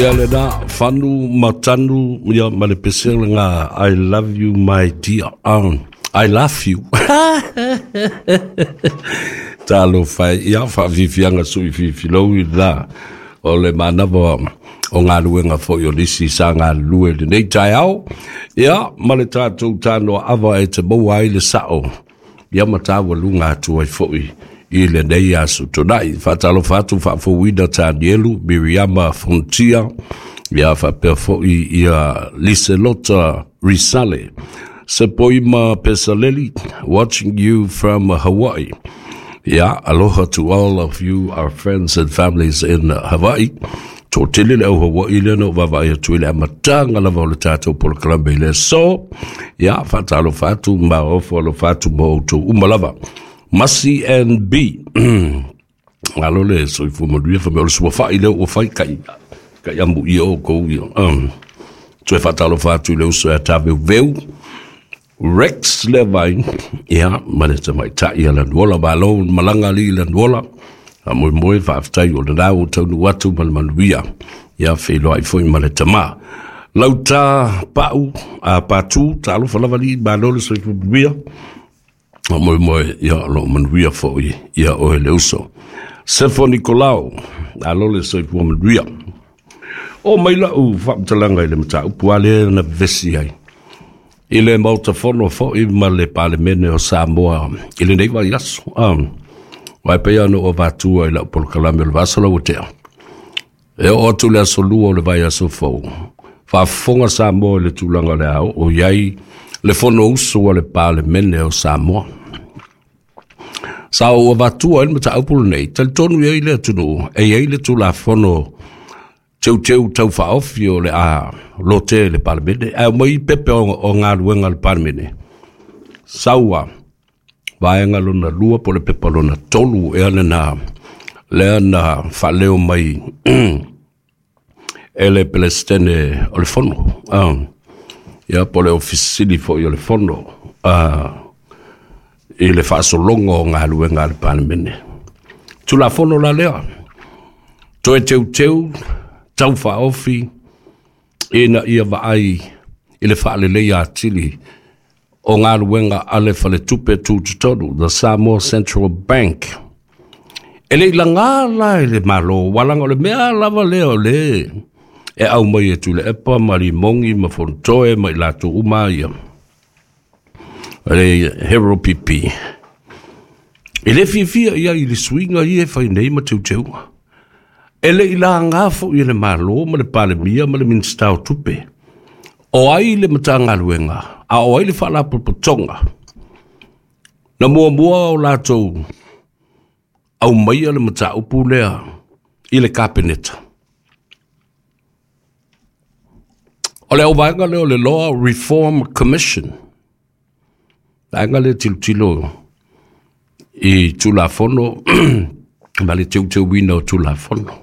Ia lena, fanu ma tanu, ia ma le pese lena, I love you my dear. I love you. Talofa e, ia faafiafiaga sui fifilou i lena o le manava o galuega foi o nisi sa galulue i lenei taeao, ia ma le tatou tanoa ava e te maua ai le sao ia ma taualuga atu ai foi i lenei aso Tona'i. Faatalofa atu faafouina Tanielu, Miriama Fontia, ia faapea foi ia Liselota Risale, Sepoima Pesaleli, watching you from Hawaii. Yeah, aloha to all of you, our friends and families in Hawaii. Toatele le au Hawaii lea na ou vaavaai atu i le amataga lava o le tatou polokalame i le aso. Ia, faatalofa atu ma ofo alofa atu ma outou uma lava. Masi and B. Malo le soifua manuia fa mea o le suafa'i lea ua fai kai kai amu ia outou ia. Toe faatalofa atu i le uso ia Taveuveu. Rex Levine, ia, ma le tamaitai a Lanuola, malo malaga alii Lanuola, faamoemoe faafetai o lena ua taunuu atu ma le manuia, ia, feiloai foi ma le tama. Lauta Pau, a Patu, talofa lava alii, malo le soifua manuia, faamoemoe, ia, o lo o manuia foi ia oe le uso. Sefo Nikolao, malo le soifua manuia. Oo mai lau faamatalaga i le mataupu a lea na vevesi ai i le Maota Fono foi ma le Palemene o Samoa i lenei vaiaso. Aua e pei ona ou avatua i lau polokalame o le vaiaso lau ua tea. E oo atu le aso lua o le vaiaso fou, faafofoga Samoa i le tulaga o le a oo i ai le Fonousu a le Palemene o Samoa. Sa ou avatua ai le mataupu lenei, talitonu i ai le atunuu e i ai le Tulafono Teuteu Tau Faaofi o le a lotea i le Palemene, ae aumai pepe o galuega a le Palemene, sau a vaega lona lua po o le pepa lona tolu ea lena lea na faaleo mai e le Peresetene o le Fono, ia po o le Ofisa Sili foi o le Fono i le faasologa o galuega a le Palemene. Tulafono la lea, toe teuteu, tau faaofi ina ia vaai i le faaleleia atili o galuega a le Faletupe Tutotonu, the Samoa Central Bank. E le i laga la e le Malo, ua laga o le mea lava lea o le e aumai e Tuilaepa ma Limogi ma Fonotoe ma i latou uma ia, le Hero PP. E le fiafia i ai i le suiga ia e fai nei ma teuteuga. E le i laga foi e le Malo ma le Palemia ma le Minisita o Tupe. O ai le Matagaluega, a o ai le Faalapotopotoga na muamua o latou aumaia le mataupu lea i le Kapeneta. O le auvaega lea o le Law Reform Commission, vaega lea tilotilo i Tulafono ma le teuteuina o Tulafono.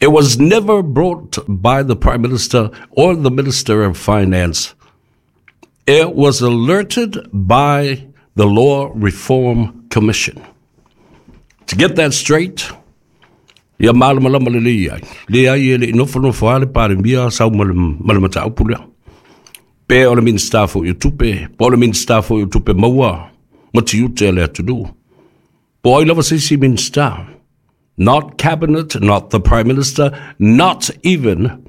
It was never brought by the Prime Minister or the Minister of Finance. It was alerted by the Law Reform Commission. To get that straight, ia malamalama lelei ai. Leai e le i nofonofo lava le Palemia sau ma le mataupu lea. Pe o le Minisita foi o Tupe, po o le Minisita foi o Tupe Maua ma tiute a le atunuu. Po o ai lava se isi Minisita. Not cabinet, not the Prime Minister, not even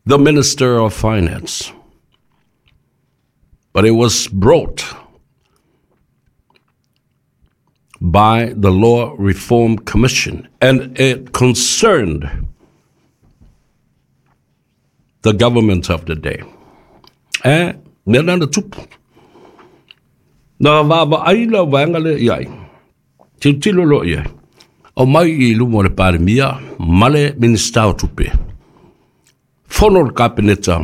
the Minister of Finance. But it was brought by the Law Reform Commission, and it concerned the government of the day. E, mea na tupu. Na vaavaai la vaega lea i ai. Tilotilo loa i ai. Aumai i luma o le Palemia ma le Minisita o Tupe. Fono le Kapeneta,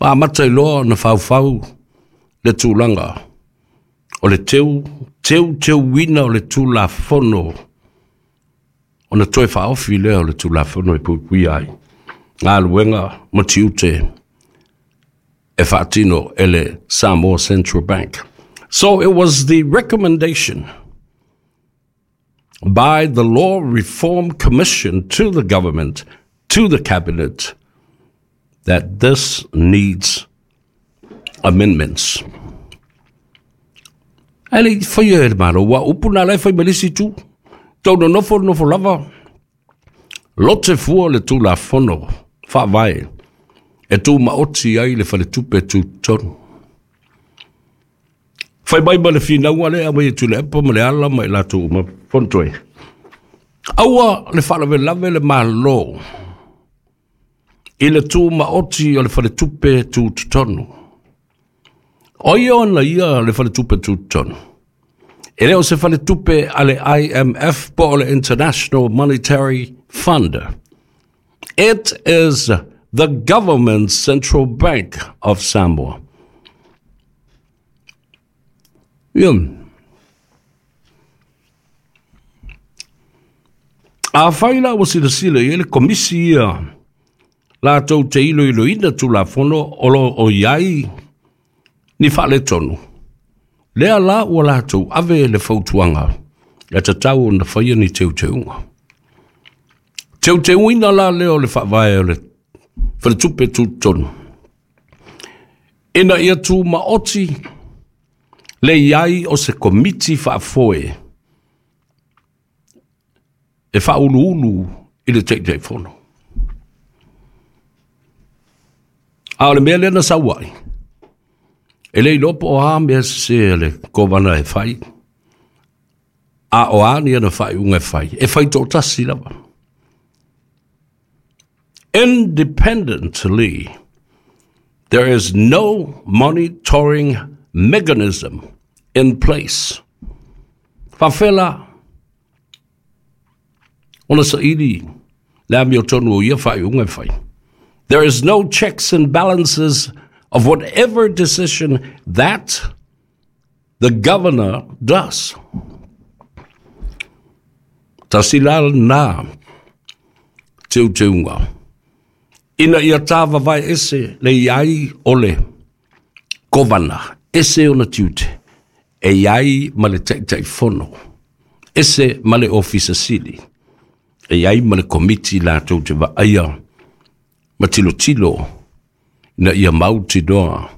ma amata ai loa ona faufau le tulaga o le teu, teuteuina o le Tulafono ona toe faaofi lea o le Tulafono e puipuia ai galuega ma tiute e faatino e le Samoa Central Bank. So it was the recommendation by the Law Reform Commission to the government, to the cabinet, that this needs amendments. Ae le i faia e le Malo, ua upu na la e fai ma le isi itu. Tau nonofo nofo lava, lote fua le Tulafono Faavae e tumaoti ai le Faletupe Tutotonu. Fai mai ma le finauga lea aumai e Tuilaepa ma Leala ma i latou uma Fonotoe. Aua le faalavelave le Malo i le tumaoti o le Faletupe Tutotonu. O ai ona ia le Faletupe Tutotonu? E le o se faletupe a le IMF po o le International Monetary Fund. It is the government central bank of Samoa. Ia. Afai la ua silasila i ai le komisi ia latou te iloiloina Tulafono o lo o i ai ni faaletonu, lea la ua latou ave le fautuaga e tatau ona faia ni teuteuga. Teuteuina la lea o le faavae o le Faletupe Tutotonu ina ia tumaoti le i ai o se komiti faafoe e faauluulu i le Taitaifono. A o le mea lea na sau ai, e le iloa po o a mea sese a le Kovana e fai, a o a ni ana faaiuga e fai, e fai toatasi lava. Independently, there is no monitoring mechanism in place. Faafefea la ona saili le amiotonu o ia faaiuga e fai? There is no checks and balances of whatever decision that the governor does. Tasi la lena teuteuga ina ia tāvavae ese le i ai o le Kovana, ese ona tiute, e i ai ma le Taitaifono, ese ma le Ofisa Sili, e i ai ma le Komiti latou te vaaia ma tilotilo ina ia mautinoa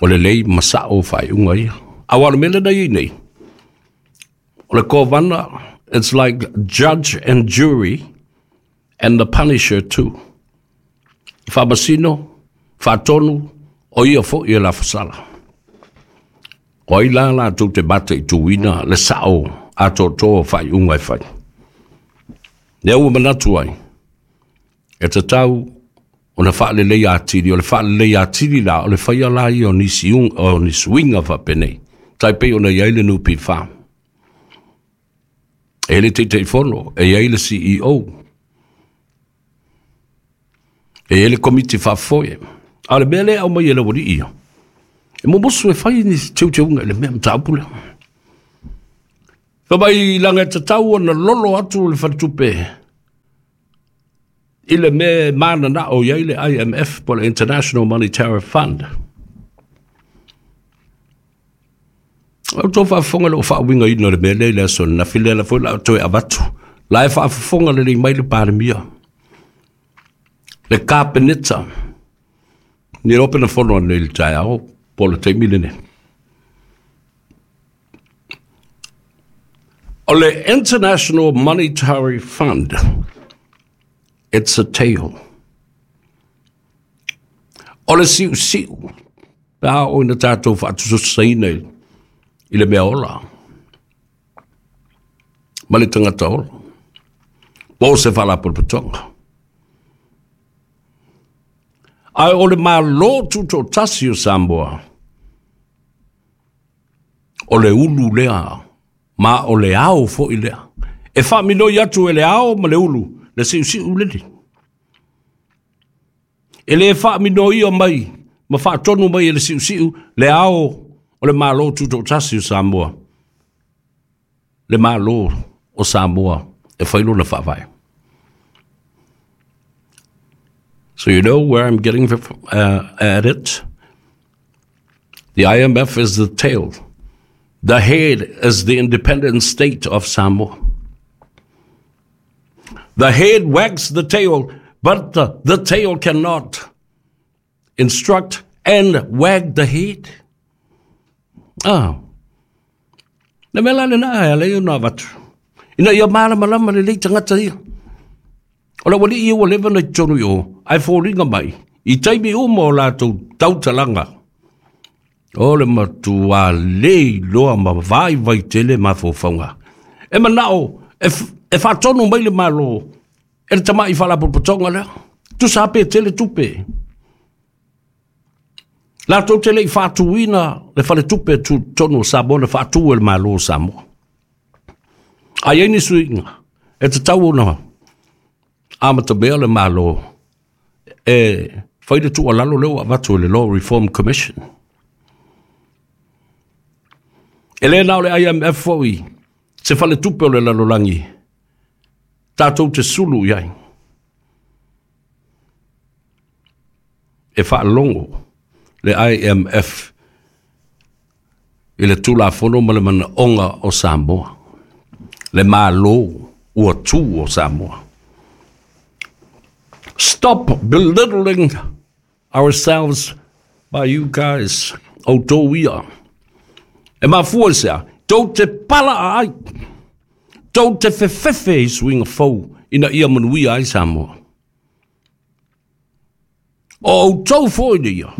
o lelei ma sa'o faaiuga ia. Aua o le mea lena e i ai nei, o le Kovana, it's like judge and jury and the punisher too. Faamasino, faatonu, o ia foi e lafasala. O ai la latou te mataituina le sa'o atoatoa o faaiuga e fai? Lea ua manatu ai, e tatau ona faaleleia atili, o le faaleleia atili la, o le faia la ia o nisi, o ni suiga faapenei, tai pei ona i ai le NPF. E i ai le Taitaifono, e i ai le CEO, e i ai le Komiti Faafoe. A o le mea lea e aumai e le aualii ia, e momosu e fai ni teuteuga i le mea mataupu lea. Fai mai laga e tatau ona lolo atu le faletupe i le mea e mananao i ai le IMF po o le International Monetary Fund. O outou faafofoga i lou faauigaina o le mea lea i le aso ananafi, lea foi la toe avatu. La e faafofoga lelei mai le Palemia, le Kapeneta, ni iloa pe na fono anei i le taeao po o le taimi lenei. O le International Monetary Fund, it's a tale. O le siusiu, pe a oo ina tatou faatusatusaina i le mea ola ma le tagata ola, po o se faalapotopotoga. Ae o le Malo Tutoatasi o Samoa, o le ulu lea ma o le ao foi lea. E faaminoi atu e le ao ma le ulu le siusiu lele. E le faaminoia mai ma faatonu mai e le siusiu le ao o le Malo Tutoatasi o Samoa, le Malo o Samoa e fai lona faavae. So you know where I'm getting at it? The IMF is the tail. The head is the independent state of Samoa. The head wags the tail, but the tail cannot instruct and wag the head. Ah. Le mea la lena e ala ia ona avatu. Ina ia malamalama lelei tagata ia. O le aualii ia ua leva ona i totonu i o, ae foliga mai, i taimi uma o latou tautalaga, o le matua le iloa ma vaivai tele mafaufauga. E manao e, e faatonu mai le Malo e le tamai faalapotopotoga lea. Tusa pe tele tupe. Latou te le i faatuina le faletupe tutotonu o Samoa na faatu e le Malo o Samoa. A i ai ni suiga, e tatau ona amatamea le Malo e fai le tuualalo lea ua avatu e le Law Reform Commission. E le na o le IMF foi se faletupe o le lalolagi tatou te sulu i ai. E faalogo le IMF i le Tulafono ma le manaoga o Samoa, le Malo ua tu o Samoa. Stop belittling ourselves by you guys, outou ia. E mafua i se a? Tou te pala ai, tou te fefefe i suiga fou ina ia manuia ai Samoa. O outou foi ia,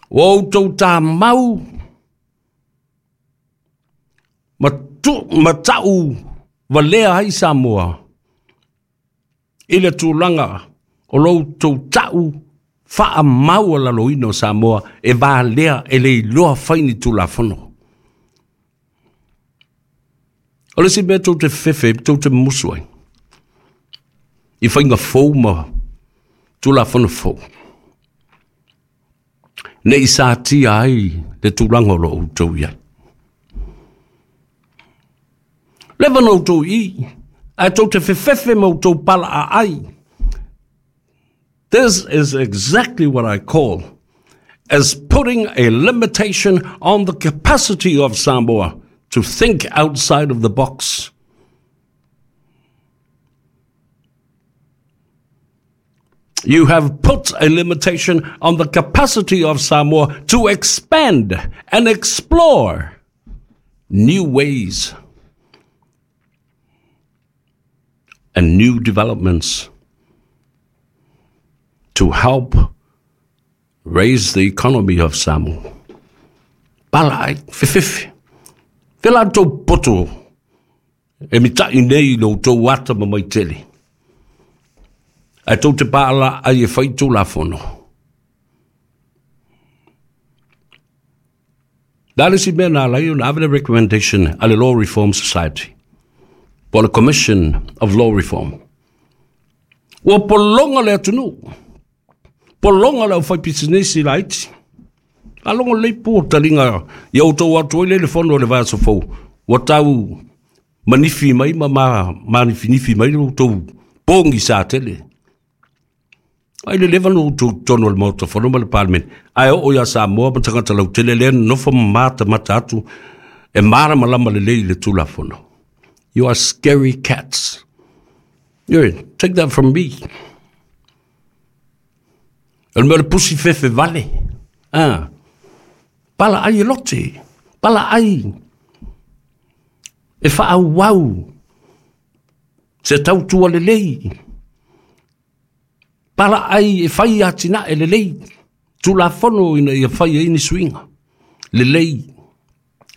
ua outou tamau ma, tu, ma ta'u valea ai Samoa i le tulaga o lo outou ta'u faamaualaloina o Samoa e valea e le iloa fai ni Tulafono. O le isi mea tou te fefe, tou te musu ai i faiga fou ma Tulafono fou, ne i satia ai le tulaga o lo outou i ai. Leva na outou i, ae tou te fefefe ma outou palaaai. This is exactly what I call as putting a limitation on the capacity of Samoa to think outside of the box. You have put a limitation on the capacity of Samoa to expand and explore new ways and new developments to help raise the economy of Samoa. Pala ai, fefefe. Fe la tou poto e mita'i nei i lo outou ata ma maitele. Ae tou te paala ai e fai Tulafono. Le a le isi mea na ala ai ona ave le recommendation a le Law Reform Society po o le Commission of Law Reform? Ua pologa le atunuu, pologa le aufaipisinisi laiti. Faalogo lelei po taliga ia outou atu ai le le fono i le vaiaso fou, ua tau manifi mai ma manifinifi mai lo outou pogisa tele. Ai le leva no outou totonu o le Maota Fono ma le Palemene, ae oo ia Samoa ma tagata lautele lea nonofo ma matamata atu e malamalama lelei i le Tulafono. You are scary cats. You take that from me. O le mea o le pusi fefe vale. Ah. Pala ai e lote. Pala ai e faaauau se tautua lelei. Pala ai e fai atinae lelei. Tulafono ina ia fai ai ni suiga lelei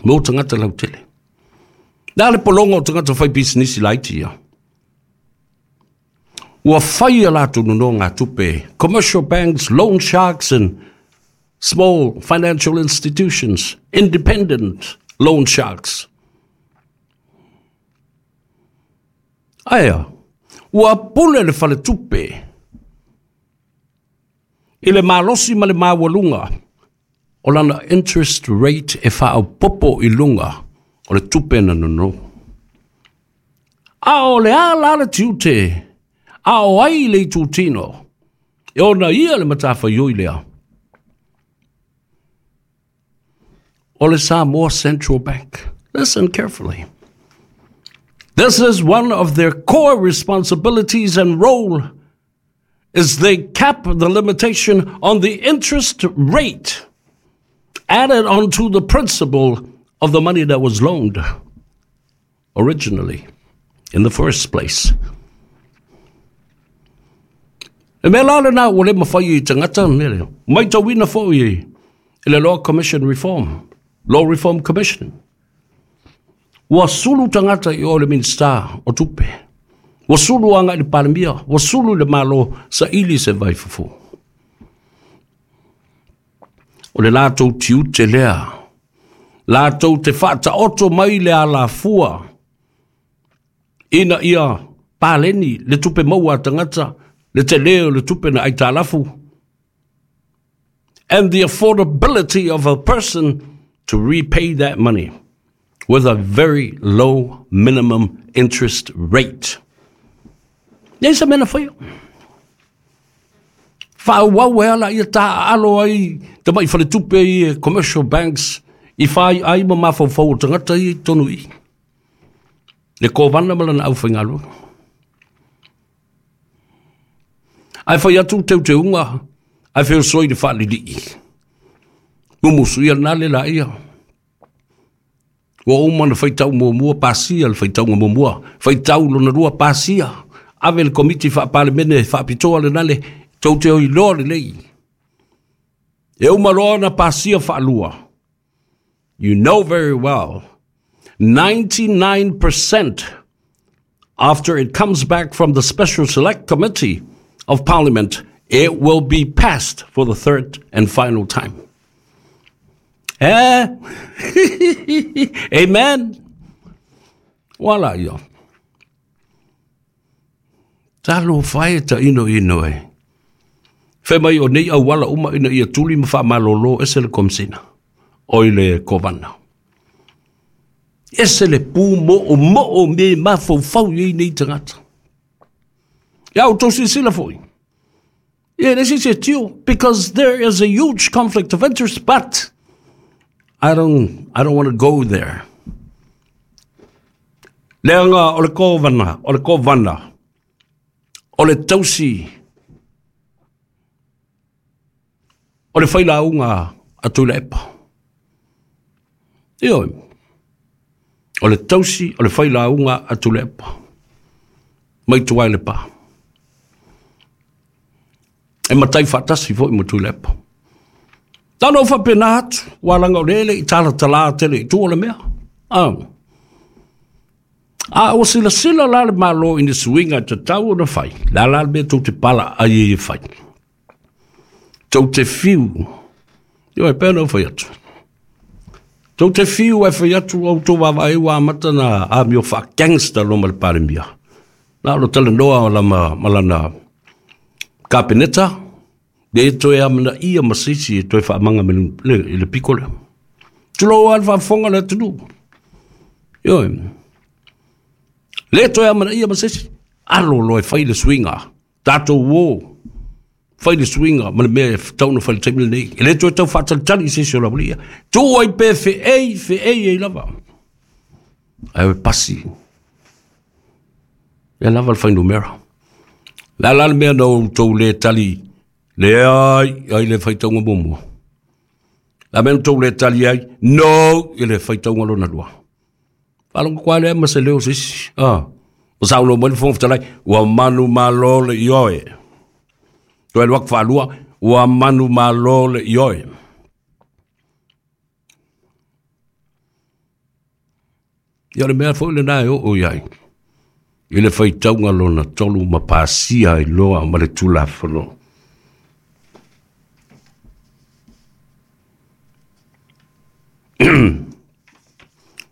mo tagata lautele. Le a le pologa o tagata fai pisinisi laiti ia? Ua fai a latou nonogatupe, commercial banks, loan sharks and small financial institutions, independent loan sharks. Aea, ua pule le faletupe i le malosi ma le maualuga o lana interest rate e faaopoopo i luga o le tupe na nono. A o le a la le tiute a o ai le itutino e ona ia le matafaioi lea? O le Samoa Central Bank. Listen carefully. This is one of their core responsibilities and role is they cap the limitation on the interest rate added onto the principal of the money that was loaned originally in the first place. E mea la lena ua le mafai i tagata mea lea. Matauina foi i le Law Commission Reform, Law Reform Commission. Ua sulu tagata i o le Minista o Tupe. Ua sulu agai i le Palemia, ua sulu i le Malo saili se vaifofo. O le latou tiute lea, latou te faataoto mai le alafua ina ia paleni le tupe maua a tagata, le tele o le tupe na aitalafu, and the affordability of a person to repay that money with a very low minimum interest rate. Nei se mea na faia. Faaauau ai ala ia taaalo ai tamai faletupe ia commercial banks i fai ai ma mafaufau o tagata ia i totonu i i. Le Kovana ma lana aufaigaluega. Ae fai atu teuteuga ae feosoi le faalilii. Mumusu ia lena le laia. Ua uma ona faitau muamua pasia le faitauga muamua, faitau lona lua pasia, ave le Komiti Faa-Palemene faapitoa lena le tou te iloa lelei. E uma loa ona pasia faalua. You know very well, 99% after it comes back from the Special Select Committee of Parliament, it will be passed for the third and final time. Eh? Amen. Wala ia. Talofa e ta ino ino e. Fai mai o nei auala uma ina ia tuli ma faamalolo ese le Komisina, oi le Kovana. Ese le pu mo'omo'o me mafaufau i ai nei tagata. Ia outou silasila foi. Ia le isi se tio, because there is a huge conflict of interest, but I don't, I don't want to go there. Leaga o le kovana, o le kovana, o le tausi, o le failauga a Tuilaepa. Ioe. O le tausi o le failauga a Tuilaepa. Mai tua i Lepa. E matai faatasi foi ma Tuilaepa. Na ona ou faapena atu, ua laga o lea e le i talatala tele i tua le mea. Ah. A ua silasila la le Malo i ni suiga e tatau ona fai, le a la le mea tou te pala ai ai e fai? Tou te fiu, ioe, pei ona ou fai atu. Tou te fiu ae fai atu ua outou vaavaai ua amata ona amio faa-gangster loa ma le Palemia. Na o le talanoa lama ma lana Kapeneta, le toe amanaia ma se isi e toe faamaga i le piko lea. Tulou lava le faafofoga a le atunuu. Ioe. Le toe amanaia ma se isi. Alo loa e fai le suiga. Tatou o fai le suiga ma le mea e tatau ona fai i le taimi lenei. E le toe tau faatalitali i se isi o le aualii ia. Tuu ai pe feei, feei ai lava. Ae pasi. Ia lava le fuainumera. Le a la le mea na outou le tali leai ai le faitauga muamua? Le a mea na outou le tali ai no i le faitauga lona lua? Faalogo koa lea ma se leo o se isi. Ah. Ua saunoa mai le Fofoga Fetalai, ua manumalo le ioe. Toe alu atu faalua, ua manumalo le ioe. Ia o le mea foi lena e oo i ai i le faitauga lona tolu ma pasia ai loa ma le Tulafono.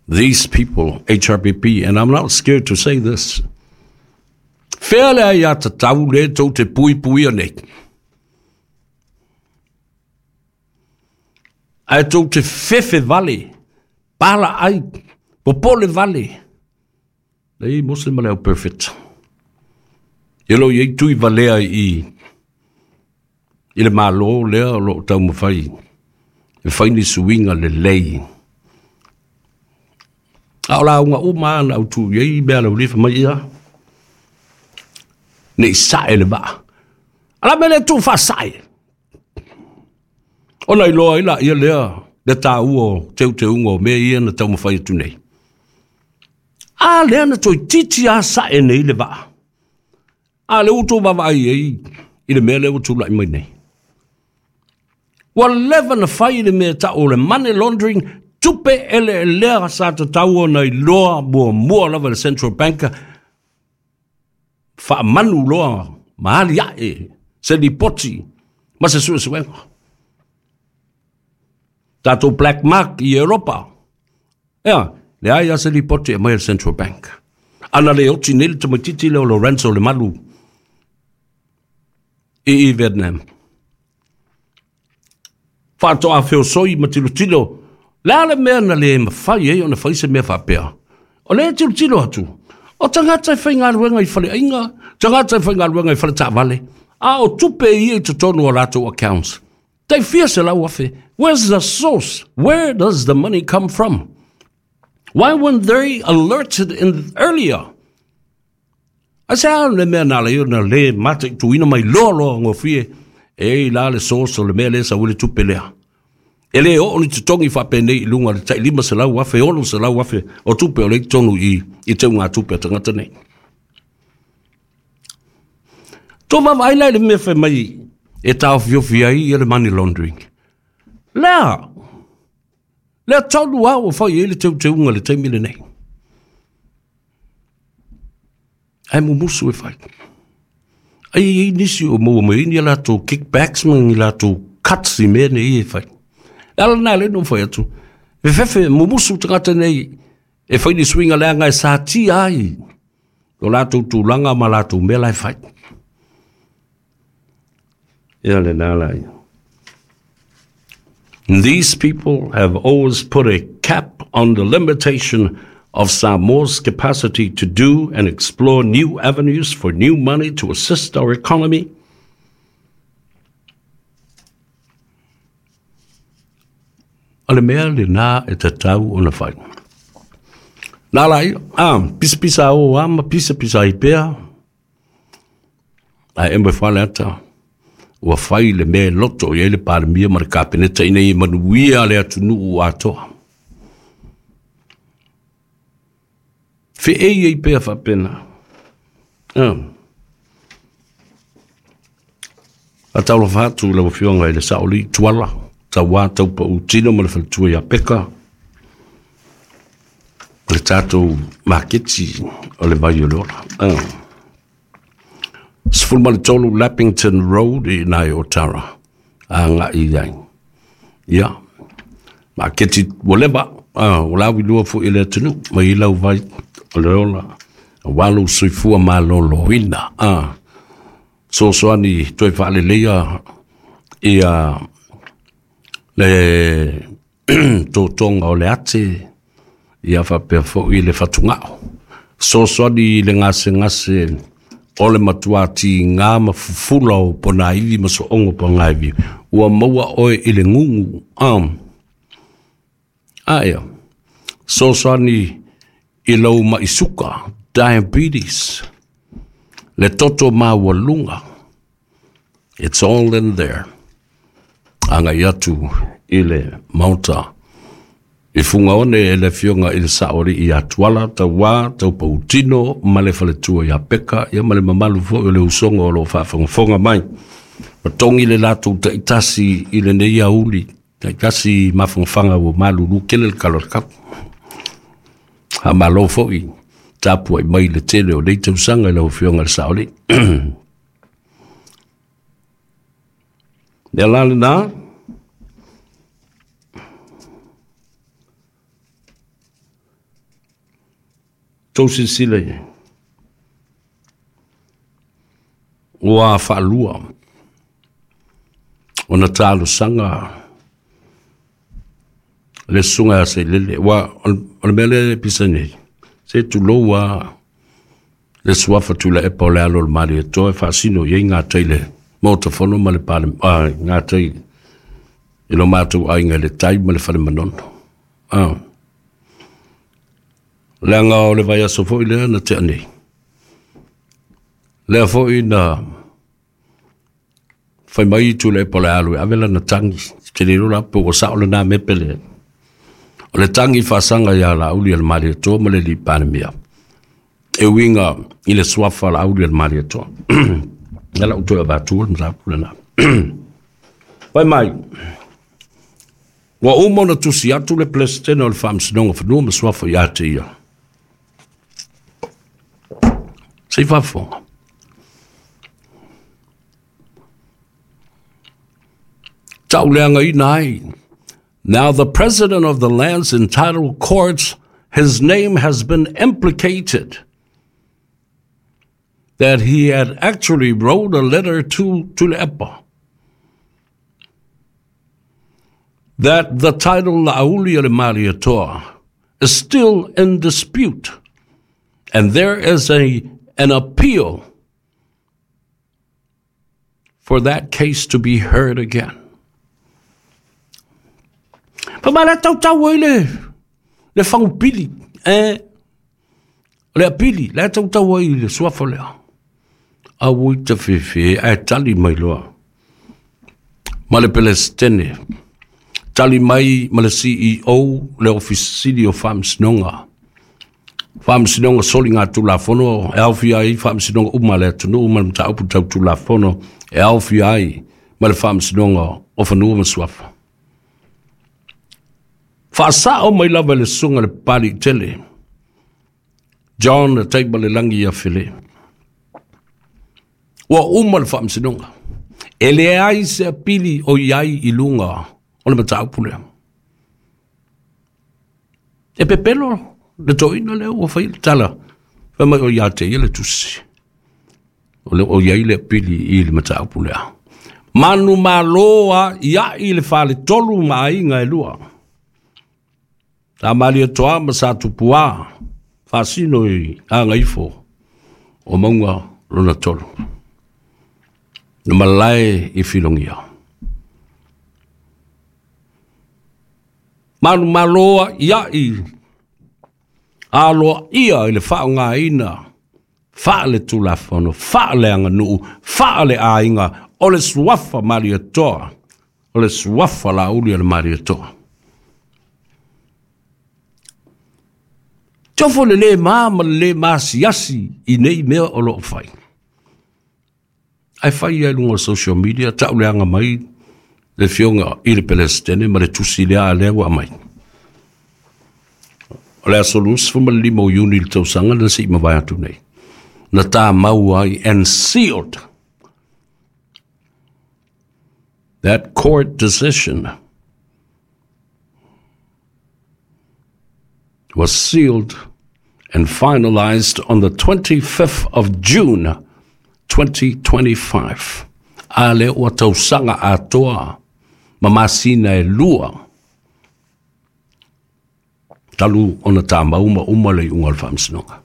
These people, HRPP, and I'm not scared to say this, whea le ai a tatau le tou te puipuia nei? Ae tou te fefe vale, pala ai, popole vale. Nei mose ma le au perfect. E lo i ai tui valea i i le Malo lea o lo o taumafai e fai ni suiga lelei. A o lauga uma lava na autu i ai mea a le aualii fai mai ia, ne i sae le vaa. A o le a le mea e le tuufaasae? Ona iloa ai laia lea le taua o teuteuga o mea ia na taumafai atu nei. A lea na toeitiiti lava sae nei le vaa. A lea ua outou vaavaai i ai i le mea lea ua tulai mai nei. Ua leva na fai le mea e tau o le money laundering, tupe eleelea sa tatau ona iloa muamua lava e le Central Bank, faamanu loa ma aliae se lipoti ma se suesuega. Tatou black mark i Europa, ea, leai lava se lipoti e aumai e le Central Bank. Ana le oti nei le tamaitiiti lea o Lorenzo Lemalu i Vietnam. Faatoa feosoi ma tilotilo, le a le mea na le mafai ai ona fai se mea faapea? O lea e tilotilo atu, o tagata e faigaluega i faleaiga, tagata e faigaluega i faletaavale, a o tupe ia i totonu o latou accounts. Tai fia 100,000. Where's the source? Where does the money come from? Why weren't they alerted in earlier? Ai se a le mea na ala ai ona le mataituina mai loa loa gofie e i la le source o le mea lea sau ai le tupe lea. E le oo ni totogi faapenei i luga o le tai 500,000, 600,000 o tupe o lea i totonu i i teugatupe a tagata nei. Tou vaavaai la i le mea fai mai e taofiofi ai ia le money laundering. Lea, lea tonu lava ua fai ai le teuteuga i le taimi lenei. Ae mumusu e fai. Ai e i ai nisi o maua mai ai ni a latou kickbacks ma ni latou cuts i mea nei e fai. Le ala lena lea na ou fai atu, fefefe mumusu tagata nei e fai ni suiga leaga e satia ai lo latou tulaga ma latou mea la e fai. Ia lena la ia. These people have always put a cap on the limitation of Samoa's capacity to do and explore new avenues for new money to assist our economy. O le mea lena e tatau ona fai. Nā la ia, a, pisapisa o a ma pisapisa ai pea, Ae e moe fale ata, ua fai le mea e loto i ai le Palemia ma le Kapeneta ina ia manuia le atunuu atoa. Feei ai pea faapena. A taulofa atu i lau Afioga i le Saolii Tuala, Tauā Taupau Tino ma le Faletua ia Peka, o le tatou maketi o le vai o le ola. 13 Lappington Road i ina i Otara, agai i ai. Ia, maketi ua leva, ua lauilua foi i le atunuu, mai i lau vai o le ola, aua lou soifua maloloina. Fesoasoani toe faaleleia ia le totoga o le ate, ia faapea foi le fatugao. Fesoasoani i le gasegase o le matua tiga ma fufula o ponaivi ma sooga o ponaivi, ua maua oe i le gugu. A ia, fesoasoani i lou mai suka, diabetes, le toto maualuga. It's all in there. Agai atu i le Maota. I Fugaone e le Afioga i le Saoalii ia Tuala, Tauā, Taupautino ma le faletua ia Peka, ia ma le mamalu foi o le usoga o lo o faafogafoga mai. Ua togi le latou taitasi i lenei aoauli, taitasi mafanafana ua malulu tele le tala o le kau. Faamalo foi tapuai mai i le tele o nei tausaga i lau Afioga i le Saoalii. Lea la lena, tou silasila i ai, ua faalua ona talosaga le susuga ia Sailele. Aua o le mea lea e pisa nei, se tulou lava le suafa Tuilaepa o le alo o le Malietoa e faasino i ai gatai le Maota Fono ma le gatai i lo matou aiga i le tai ma le fale Manono. Leaga o le vaiaso foi lea na tea nei. Lea foi na fai mai Tuilaepa o le a alu e ave lana tagi. Ou te le iloa la pe ua sao lena mea pe leai. O le tagi faasaga ia Laaulialemalietoa ma le alii Palemia e uiga i le suafa o Laaulialemalietoa. Lea la ua toe avatu le mataupu lena. Fai mai, ua uma ona tusi atu le Peresetene o le Faamasinoga o Fanua ma Suafa ia te ia. Se i faafofoga. Tauleagaina ai. Now the president of the Lands and Title Courts, his name has been implicated that he had actually wrote a letter to Tuilaepa that the title La'aulialemalietoa is still in dispute and there is a an appeal for that case to be heard again. Fa mai la tautau ai le le fagupili, eh, o le apili, la tautau ai le suafa lea. Aua i te fefe, ae tali mai loa. Ma le Pelesitene, tali mai ma le CEO, le Ofisa Sili o Faamasinoga. Faamasinoga Soligatulafono e aofia ai faamasinoga uma a le atunuu ma le mataupu tau Tulafono e aofia ai ma le Faamasinoga o Fanua ma Suafa. Faasao mai lava e le Susuga le Papaliitele John Taimalelagi ia Fele. Ua uma le faamasinoga. E leai se apili o i ai i luga o le mataupu lea. E pepelo le toeaina lea ua fai le tala, fai mai o ia te ia le tusi. O le o iai le apili i le mataupu lea. Manu malo a iai le faletolu ma aiga e lua. Sa Malietoa ma Sa Tupuā, faasino i Gagaifo o mauga lona tolu. Na malae i Filogia. Manumalo a iai aloaia i le faaaogaina faale-tulafono, faale-aganuu, faale-aiga o le suafa Malietoa, o le suafa Laauli o le Malietoa. Tofo le lē ma ma le lē masiasi i nei mea o lo o fai. Ae fai ia i luga o social media, tauleaga mai le afioga i le Pelesitene ma le tusi lea a lea ua aumai. O le aso 25 o Iuni le tausaga na se i mavae atu nei. Na tāmau ai and sealed that court decision was sealed and finalized on the 25th of June 2025. A lea ua tausaga atoa ma masina e lua talu ona tāmau ma uma le iuga o le faamasinoga.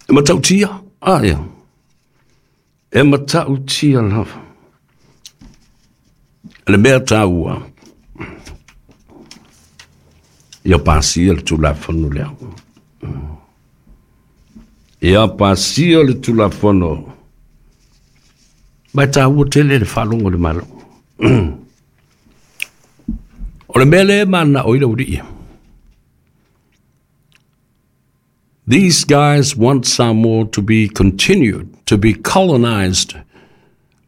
E matautia, a ia. E matautia lava. Le mea taua, ia pasia le Tulafono lea. Ia pasia le Tulafono. Ma e taua tele le faalogo i le Malo. O le mea lea e mananao ai le aualii. These guys want Samoa to be continued to be colonized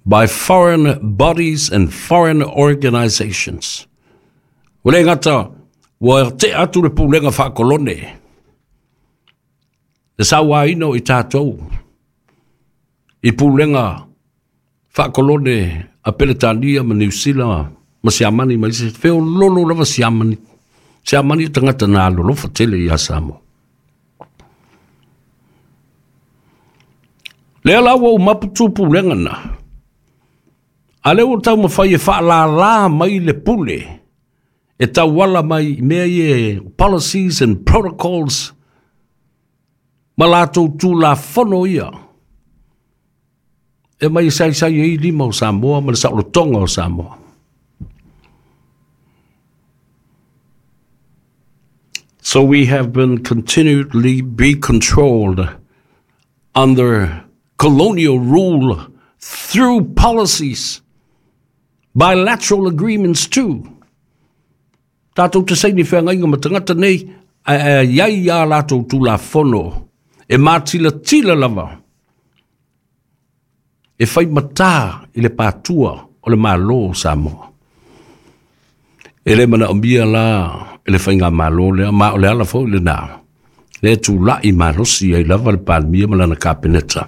by foreign bodies and foreign organizations. Ua le gata ua tea atu le pulega faakolone, le sauaina o i tatou i pulega faakolone a Peretania ma Niu Sila ma Siamani ma isi, feololo lava Siamani. Siamani o tagata na alolofa tele ia Samoa. Lea la ua umapu tu pulega na. A lea ua taumafai e faalala mai le pule e tauala mai i mea ia policies and protocols ma latou tulafono ia e mai e saisai ai lima o Samoa ma le saolotoga o Samoa. So we have been continually be controlled under colonial rule through policies, bilateral agreements too. Tātou te saini feagaiga ma tagata nei, ae i ai ā latou Tulafono e mātilatila lava e fai matā i le pātua o le Malo o Samoa. E le manaomia la e le faigamalo lea, ma o le ala foi lenā, lea e tulai malosi ai lava le Palemia ma lana Kapeneta,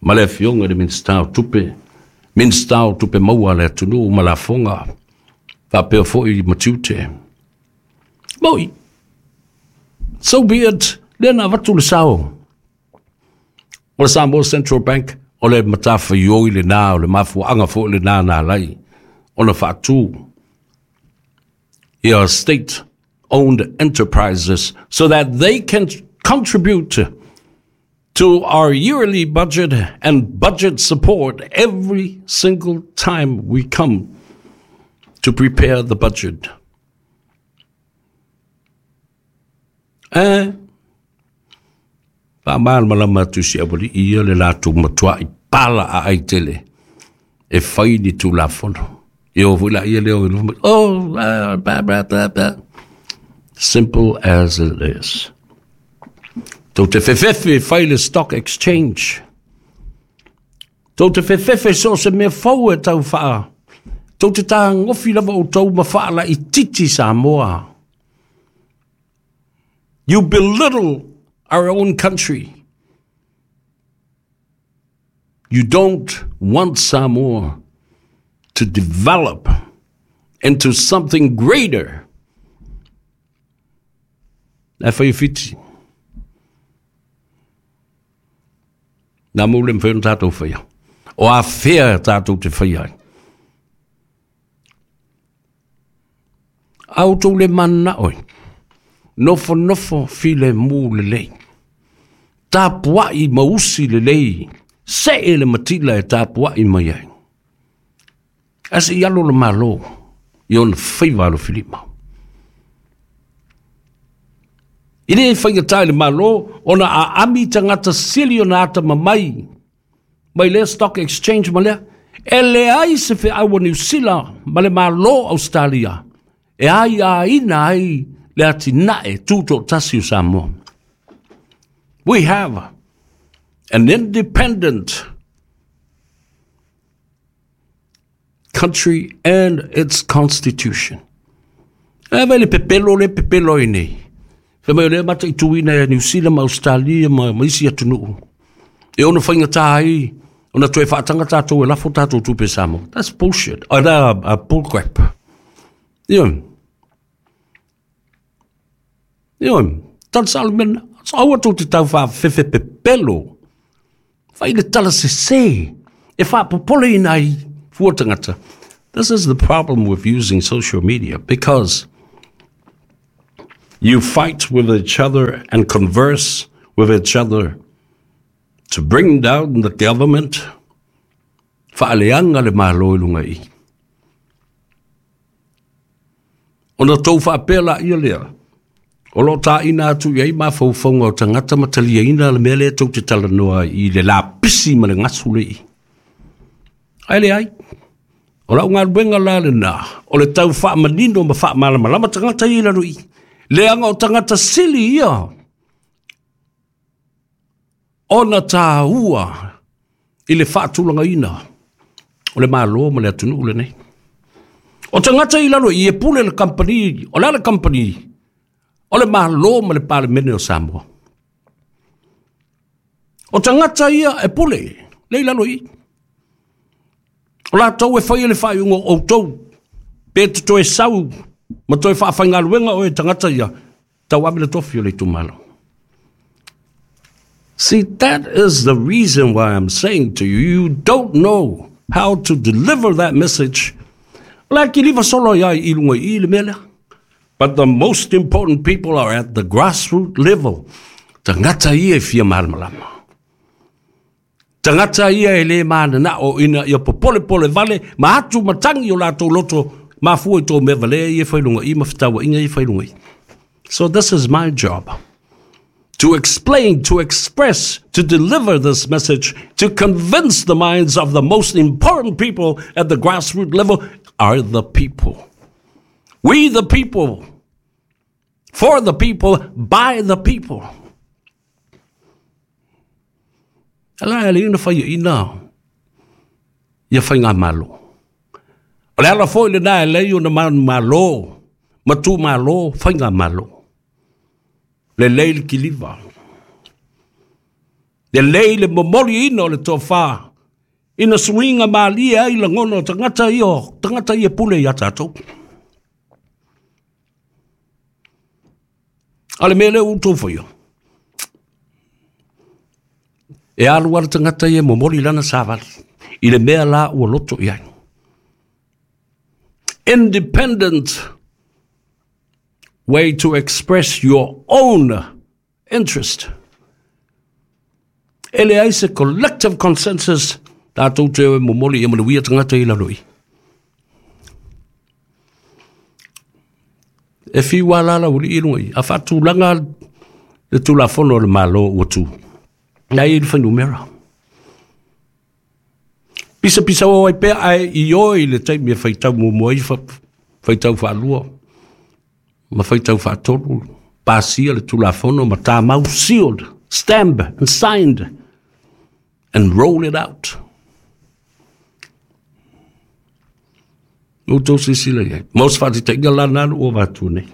ma le Afioga i le Minisita o Tupe, Minisita o Tupe Maua a le atunuu ma lafoga, faapea foi ma tiute. Moi, so be it, lea na avatu le sao o le Samoa Central Bank, o le matafaioi lenā, o le mafuaaga foi lenā na ala ai ona faatu ia state owned enterprises so that they can contribute to our yearly budget and budget support every single time we come to prepare the budget. Eh, faamalamalama atu si aualii ia le latou matuai pala aai tele e fai ni Tulafono. E o foi laia lea o i luma, oh, ah, blah, blah, blah, blah. Simple as it is. Tou te fefefe e fai le stock exchange. Tou te fefefe so o se mea fou e tau whaa. Tou te tāgofi lava o tou ma whaala i titi Samoa. You belittle our own country. You don't want Samoa to develop into something greater. E whai whiti. Nā mou le mwhai o tātou whaia. O a whea tātou te whai ai. A outou le mananao e nofonofo filemu lelei, tapuai ma usi lelei, see le matila e tapuai mai ai. Ae se i alo le Malo i ona faiva alofilima. E le faigata i le Malo ona aami tagata sili ona atamamai mai lea stock exchange ma lea, e leai se feau a Niu Sila ma le Malo o Ausetalia e aiaina ai le atinae tutoatasi o Samoa. We have an independent country and its constitution. E vai le pepelo le pepelo ai nei. Fai mai o lea mataituina e Niu Sila ma Australia ma, ma isi atunuu. E ono faigata ai ona toe faataga tatou e lafo tatou tupe Samoa. That's bullshit. Oh, that, bull crap. Ioe. Ioe, tala sao le mea lena. Aua tou te tau faafefefe pepelo. Fai le tala sese e faapopoleina ai fua tagata. This is the problem with using social media because you fight with each other and converse with each other to bring down the government. Faaleaga le Malo i luga i i. Ona tou faapea laia lea, o lo o tāina atu i ai mafaufauga o tagata ma taliaina le mea lea tou te talanoa ai i le lapisi ma le gasu le i. Ae leai, o lau galuega la lenā, o le tau faamanino ma faamalamalama tagata ia i lalo i i, leaga o tagata sili ia ona taua i le faatulagaina o le Malo ma le atunuu lenei. O tagata i lalo i i e pule le kamupani, o le a le kamupani? O le Malo ma le Palemene o Samoa. O tagata ia e pule le i lalo i i. O latou e faia le faaiuga o outou, pe te toe sau ma toe faafaigaluega oe e tagata ia, tauave le tofi o le itumalo. See, that is the reason why I'm saying to you, you don't know how to deliver that message. O la e kiliva solo ai i lunga i i le mea lea. But the most important people are at the grassroots level. Tagata ia e fia malamalama. Tagata ia e le mananao ina ia popolepole vale ma atu ma tangi o latou loto mafua i tō mea valea ia e fai lunga i ma fetauaiga ia e fai lunga i. So this is my job. To explain, to express, to deliver this message, to convince the minds of the most important people at the grassroots level are the people. We the people, for the people, by the people. Ala e le ina whai ina ia faigamalo. O le ala foi lena e leai ona manumalo ma tumalo faigamalo. Lelei le kiliva. Lelei le momoliina o le tofa ina suiga malie ai lagona o tagata ia, o tagata ia pule ia tatou. A le mea lea ua outou faia, e alu lava le tagata ia e momoli lana savali i le mea la ua loto i ai. Independent way to express your own interest. E leai se collective consensus tatou te o e momoli ia manuia tagata i lalo i. E fiu lava la laualii i luga i, a faatulaga le Tulafono a le Malo ua tu, na e i le fuainumera. Pisapisao ai pea ae ioe i le taimi e faitau muamua ai, faitau faalua ma faitau faatolu, pasia le Tulafono ma tamau, sealed, stamped and signed and roll it out. Ua outou silasila i ai. Mo se faataitaiga la lena na ua avatu nei.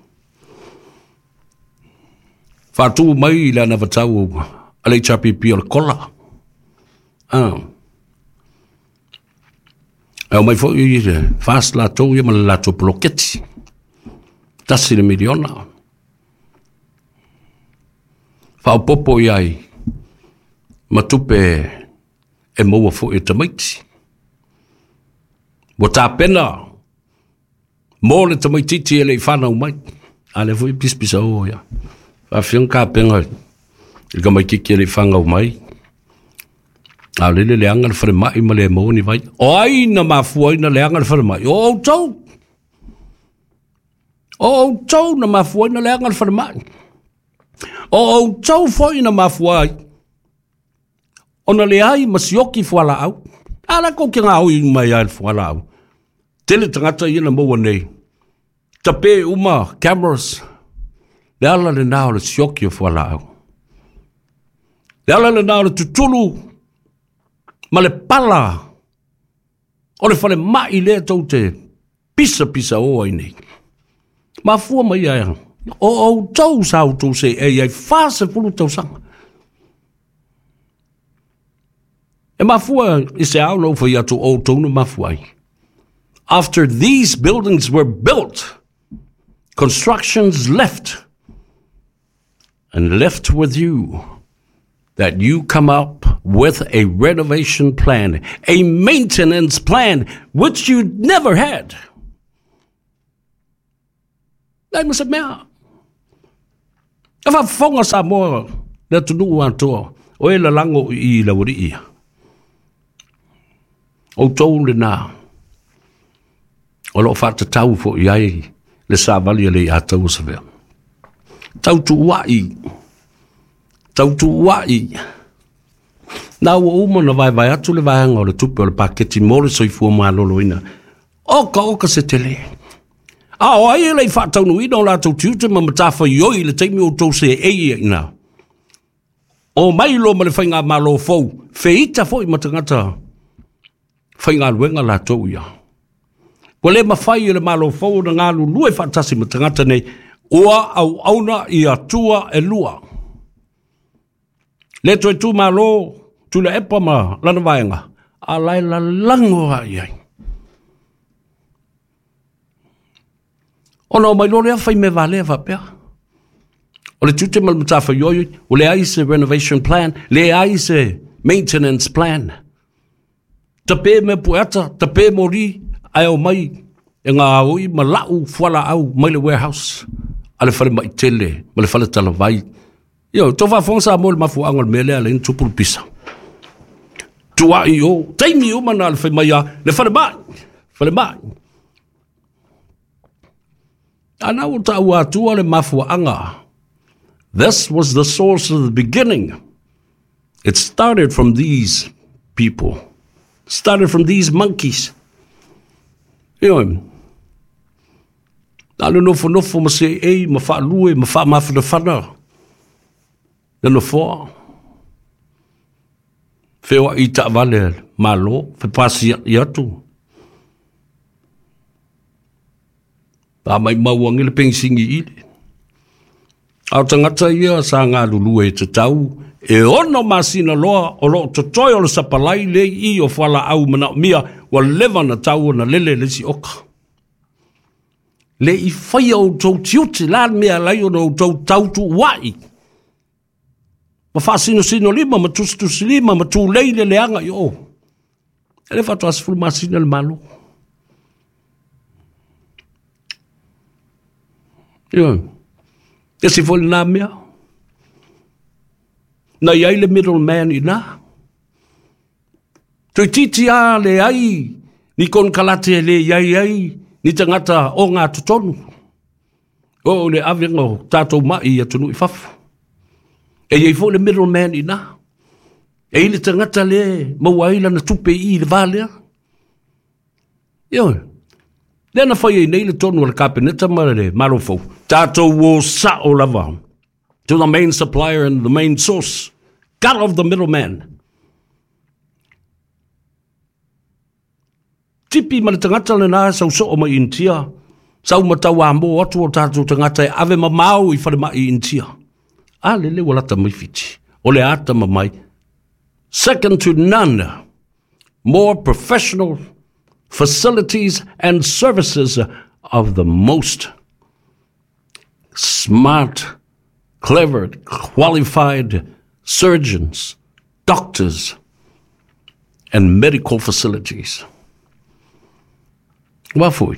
Faatu mai le anavatau a le HRPP o le kola. Ah. E omai foi le FAST latou ia ma le latou poloketi. $1 miliona. Faaopoopo i ai ma tupe e maua foi e tamaiti. Ua tapena mo le tamaitiiti e le i fanau mai. A lea foi pisapisa o ia. Faafia kapena i le tamaitiiti e le i fanau mai. A o lele leaga le falemai ma le maua ni vai. O ai na mafua ai na leaga le falemai? O outou. O outou na mafua ai na leaga le falemai. O outou foi na mafua ai ona leai ma sioki fualaau. A la kou ke gaoi mai ai le fualaau. Tele tagata ia na maua nei. Tape uma cameras. Le ala lena o le sioki o fualaau. Le ala lena o le tutulu ma le pala o le falemai lea tou te pisapisa o ai nei. Mafua mai ai o outou sa outou seei ai 40 tausaga. E mafua i se ao na ou fai atu o outou na mafua ai. After these buildings were built, constructions left and left with you that you come up with a renovation plan, a maintenance plan, which you never had. Leai ma se mea. E faafofoga Samoa le atunuu atoa, o e lalago i i laualii ia. Outou lena o lo o faatatau foi i ai le savali a le Aiataua Savea. Tautuuai, tautuuai. Na ua uma na vaevae atu le vaega o le tupe o le paketi mo le soifua maloloina. Oka oka se tele. A o ai e le i faataunuuina o latou tiute ma matafaioi i le taimi o outou seei ai ina. O mai loa ma le faigamalo fou, feita foi ma tagata faigaluega latou ia. Ua le mafai e le Malo fou ona galulue faatasi ma tagata nei, ua auauna i atua e lua. Le toe tu malo Tuilaepa ma lana vaega, a la e lalago lava i ai. Ona omai loa lea fai mea valea faapea. O le tiute ma le matafaioi, ua leai se renovation plan, leai se maintenance plan. Tape mea pueata, tape moli, ae omai e gaoi ma lau fualaau mai le warehouse a le falemai tele ma le fale talavai. Ioe, tou faafofoga Samoa i le mafuaaga o le mea lea e ala ai ona tupu le pisa. Tuai o, taimi uma na o le fai mai lava, le falemai, falemai. Ana ua taua atua le mafuaaga. This was the source of the beginning. It started from these people. Started from these monkeys. Ioe. Na le nofonofo ma seei ma faalue ma faamafanafana le nofoa. Feoai i taavale a le Malo, fepasia'i atu. Faamaimau age le pegisigi ili. A o tagata ia sa galulue e tatau e 6 masina loa o loo totoe o le sapalai le i o fualaau manaomia ua leva na tau ona lele le isi oka. Le i faia outou tiute la le mea alai ona outou tautuuai ma faasinosino lima ma tusitusilima ma tulei le leaga i o. E le faatoa 10 masina le Malo. Ioe. Esi foi lena mea. Na i ai le middleman i na. Toeitiiti lava leai ni konekarate e le i ai ai ni tagata o ngā totonu. O le avega o tātou mai i atunuu i fafo. E i ai foi le middleman i na. E i le tagata le maua ai lana tupe i i le va lea. Ioe. Lea na fai ai nei le tonu a le Kapeneta ma le Malo fou. Tātou o sao lava to the main supplier and the main source. Cut off the middleman. Tipi ma le tagata lena e sau soo mai Initia, sau ma tauamo atu o tatou tagata e ave mamao i falemai i Initia. A lele ua lata mai Fiti. O le ata mamai. Second to none. More professional facilities and services of the most smart, clever, qualified surgeons, doctors, and medical facilities. Ua foi.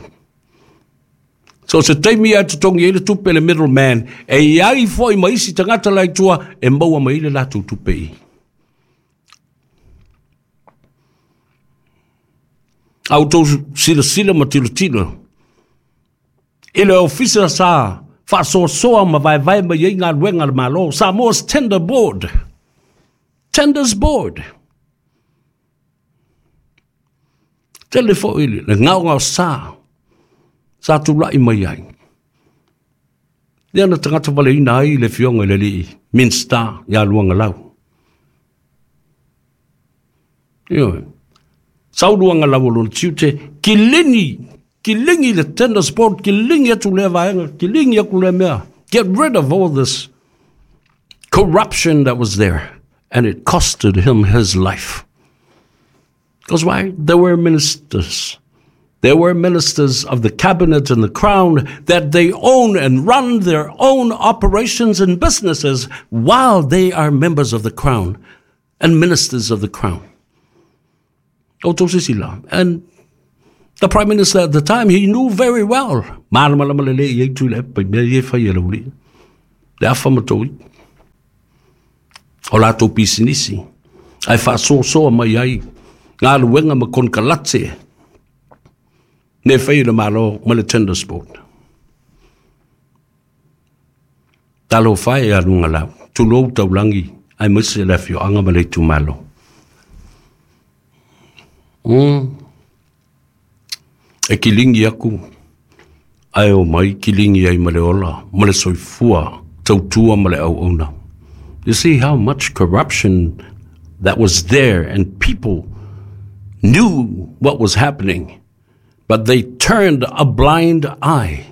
So se taimi e totogi ai le tupe le middleman, e i ai foi ma isi tagata la i tua e maua mai le latou tupe i. A outou silasila ma tilotilo i le ofisa sa faasoasoa ma vaevae mai ai galuega a le Malo, Samoa's Tender Board. Tenders Board. Tele foi le gaogaosa sa tulai mai ai. Lea na tagata valeina ai le afioga i le alii Minista ia Luagalau. Ioe. Sau Luagalau o lona tiute, kilini, kiligi le Tenders Board, kiligi atu lea vaega, kiligi aku lea mea. Get rid of all this corruption that was there. And it costed him his life. Because why? There were ministers. There were ministers of the cabinet and the crown that they own and run their own operations and businesses while they are members of the crown and ministers of the crown. Outou sisila. And the prime minister at the time, he knew very well. Malamalama lelei i ai Tuilaepa i mea ia e fai e le aualii. Le afa ma toi. O latou pisinisi. Ae faasoasoa mai ai galuega ma konekarate ne fai le Malo ma le Tenders Board. Talofa e a Lugalau, tulou taulagi aemaise le afioaga ma le itumalo. E kiligi aku ae o mai kiligi ai ma le ola ma le soifua tautua ma le auauna. You see how much corruption that was there, and people knew what was happening, but they turned a blind eye.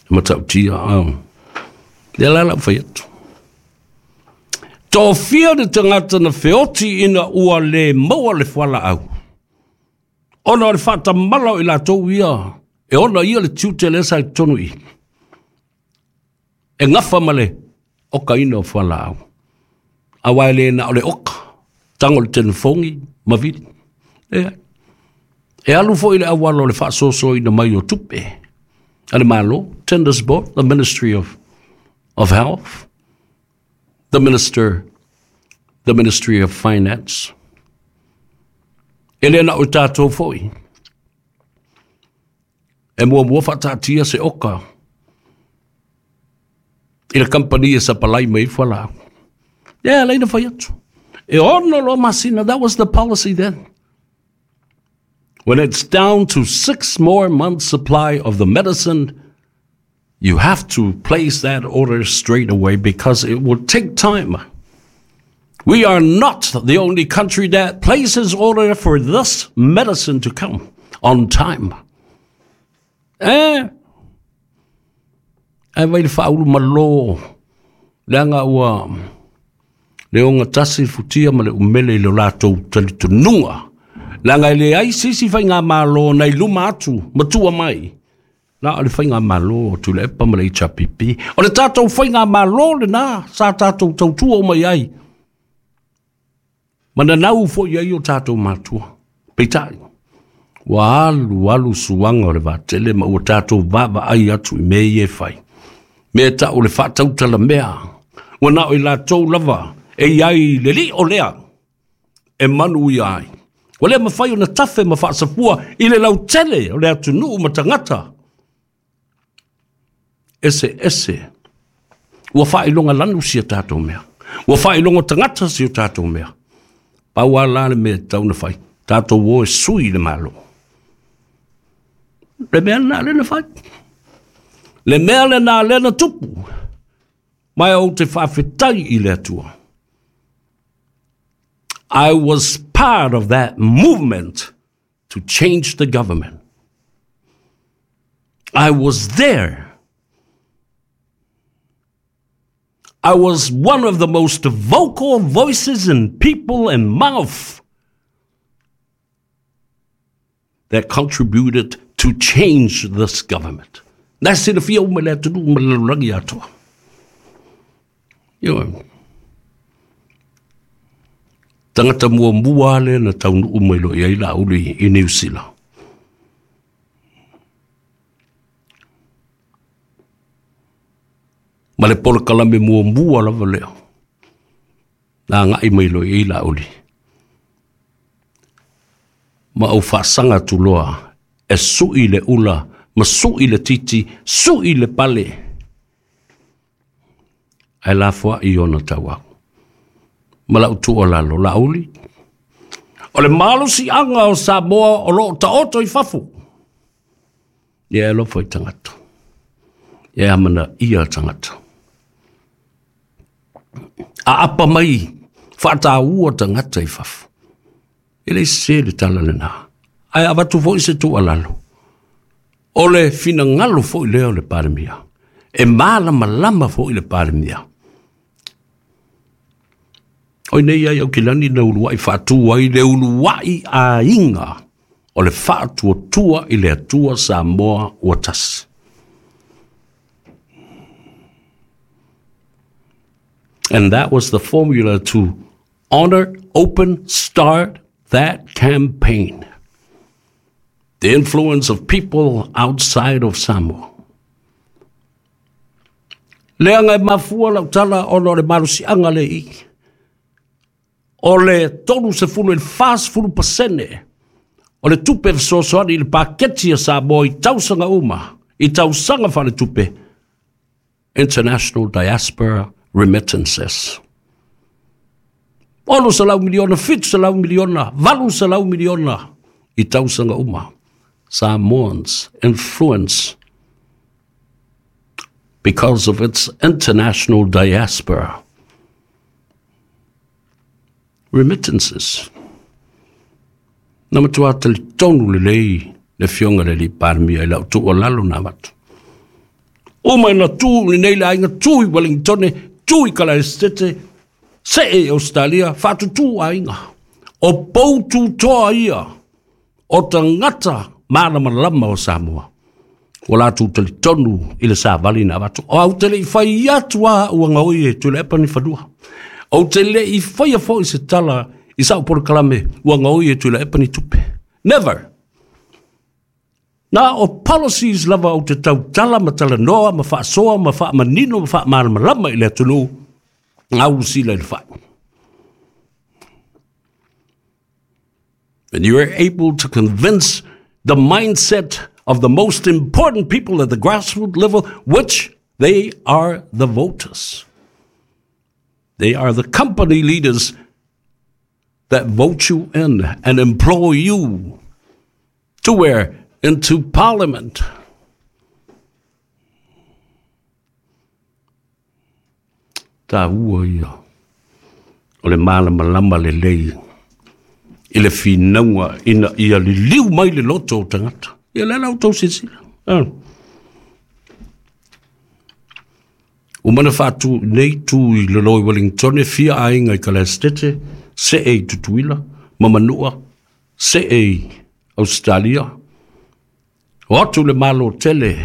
E matautia, lea la lau fai atu. Tofia le tagata na feoti ina ua le maua le fualaau. Ona o le faatamala o i latou ia, e ona ia le tiute lea sa i totonu i i. E gafa ma le okaina o fualaau. Aua e le na o le oka, tago i le telefoni ma vili. Leai. E alu foi i le auala o le faasoasoaina mai o tupe a le Malo, Tenders Board, the Ministry of Health, the Ministry of Finance. E le na o tatou foi. E muamua faataatia se oka i le kamupani e sapalai mai ai fualaau. Ia, e alai na fai atu. E 6 loa masina, that was the policy then. When it's down to 6 more months supply of the medicine, you have to place that order straight away because it will take time. We are not the only country that places order for this medicine to come on time. Eh? Ae vai le faaulu malo, leaga ua le ogatasi le futia ma le umele i lo latou talitonuga, leaga e leai se isi faigamalo na i luma atu ma tua mai, na o le faigamalo a Tuilaepa ma le HRPP. O le tatou faigamalo lena sa tatou tautua uma i ai, ma nanau foi i ai o tatou matua. Peitai, ua alu alu suaga o le vaatele ma ua tatou vaavaai atu i mea ia e fai. Mea e tau le faatautalamea, ua na o i latou lava e i ai le lio lea e manuia ai. Ua le mafai ona tafe ma faasafua i le lautele o le atunuu ma tagata eseese. Ua faailoga lanu si a tatou mea. Ua faailoga tagata si o tatou mea. Pau lava la le mea e tatau ona fai, tatou o e sui le Malo. Le mea lena lea na fai. Le mea lena lea na tupu. Ma ou te faafetai i le Atua. I was part of that movement to change the government. I was there. I was one of the most vocal voices and people and mouth that contributed to change this government. Na silafia uma le atunuu ma le lalolagi atoa. Ioe. Tagata muamua lea na taunuu mai loa i ai Laauli i Niu Sila. Ma le polokalame muamua lava lea na agai mai loa i ai Laauli. Ma ou faasaga atu loa e sui le ula ma sui le titi, sui le pale, ae lafoai ona tauau. Ma lau tuualalo, Laauli, o le malosiaga o Samoa o lo o taoto i fafo. Ia e alofa i tagata. Ia e amanaia tagata. Aapa mai, faataua tagata i fafo. E le sese le tala lena. Ae avatu foi se tuualalo. O le finagalo foi lea o le Palemia. E malamalama foi le Palemia. O i nei ai Aukilani na uluai faatu ai le uluai aiga o le faatuatua i le Atua Samoa ua tasi. And that was the formula to honor, open, start that campaign. The influence of people outside of Samoa. Leaga e mafua lau tala ona o le malosiaga le i. O le 30 i le 40% o le tupe fesoasoani i le paketi a Samoa i tausaga uma, i tausaga faaletupe, International Diaspora Remittances. 600 miliona, 700 miliona, 800 miliona i tausaga uma. Samoans influence because of its international diaspora. Remittances. Na matua talitonu lelei le Afioga i le Alii Palemia i lau tuualalo na avatu. Uma ina tu lenei le aiga, tu i Wellingtone, tu i Kalaesetete, see i Australia, faatutū aiga. O pou tutoa ia o tagata malamalama o Samoa. Ua latou talitonu i le savali na avatu. O au te le i fai atu a ua gaoi e Tuilaepa ni fanua. Ou te le i faia foi se tala i sau polokalame ua gaoi e Tuilaepa ni tupe. Never! Na o policies lava ou te tautala ma talanoa ma faasoa ma faamanino ma faamalamalama i le atunuu, gau sila i le fai. When you are able to convince the mindset of the most important people at the grassroots level, which they are the voters. They are the company leaders that vote you in and employ you to where? Into parliament. Taua ia o le malamalama lelei i le finauga ina ia liliu mai le loto o tagata. Ia le la outou silasila. Ua mana faatu nei tu i lalo i Wellington e fia aiga i Kalaestete, see i Tutuila, ma Manua, see i Australia. O atu le Malo tele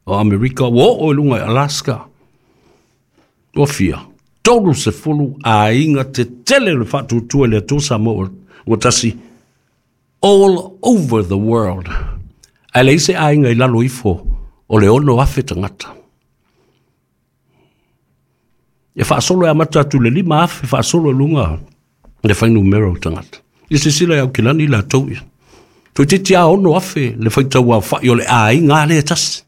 o Amerika, ua oo i luga i Alaska. Ua fia, 30 aiga tetele o le Faatuatua i le Atua Samoa ua tasi, all over the world. Ae leai se aiga i lalo ifo o le 6,000 tagata. E faasolo e amata atu le 5,000 faasolo i luga le fuainumera o tagata. Ia silasila i Aukilani latou ia. Toeitiiti lava 6,000 le faitau aofai o le aiga lava lea e tasi.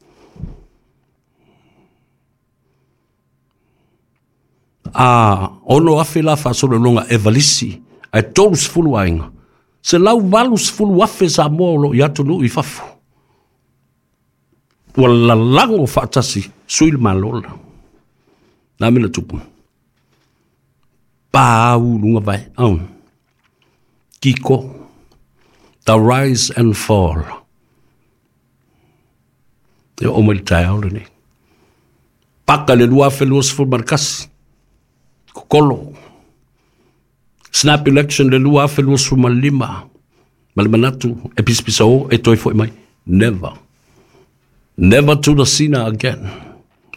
A 6,000 la faasolo i luga e valisi, ae 30 aiga. 180,000 Samoa o lo o i atunuu i fafo. Ua lalago faatasi sui le Malo la. Na mea na tupu. Pau luga vai. Oh. Kiko. The rise and fall. E oo mai le taeao lenei. Paka le 2021. Kokolo. Snap election le 2025. Ma le manatu e pisapisa o e toe foi mai. Never. Never to the Sina again.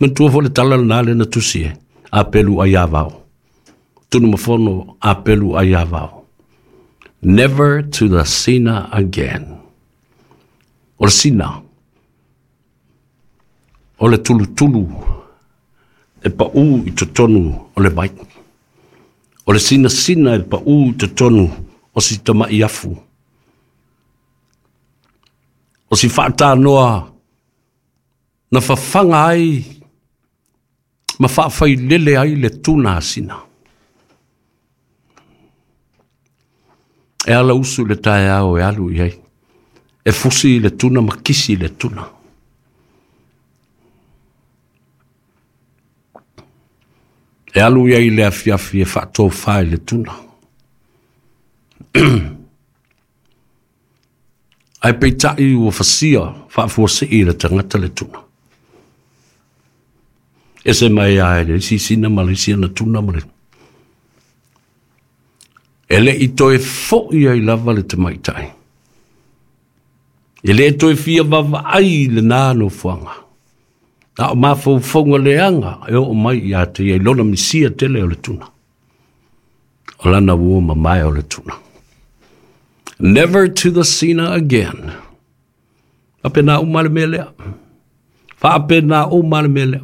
Manatua foi le tala lena lea na tusi e. A pelu ai avao. Tunumafono a pelu ai avao. Never to the Sina again. O le Sina. O le tulutulu e pau i totonu o le vai. O le sinasina e pau i totonu o si tamai afu. O si faatanoa na fafaga ai ma faafailele ai le tuna asina. E ala usu le taeao e alu i ai. E fusi le tuna ma kisi le tuna. E alu i ai le afiafi e faatofa i le tuna. Ae peitai ua fasia faafuasei e le tagata le tuna. Ese mai a e le isi sina ma le isi ana tuna ma le... E le i toe foi ai lava le tamaitai. E le toe fia vaavaai i lena nofoaga. Na o mafaufauga leaga e oo mai ia te ia i lona misia tele o le tuna. O lana uo mamae o le tuna. Never to the Sina again. Faapena uma le mea lea. Faapena uma le mea lea.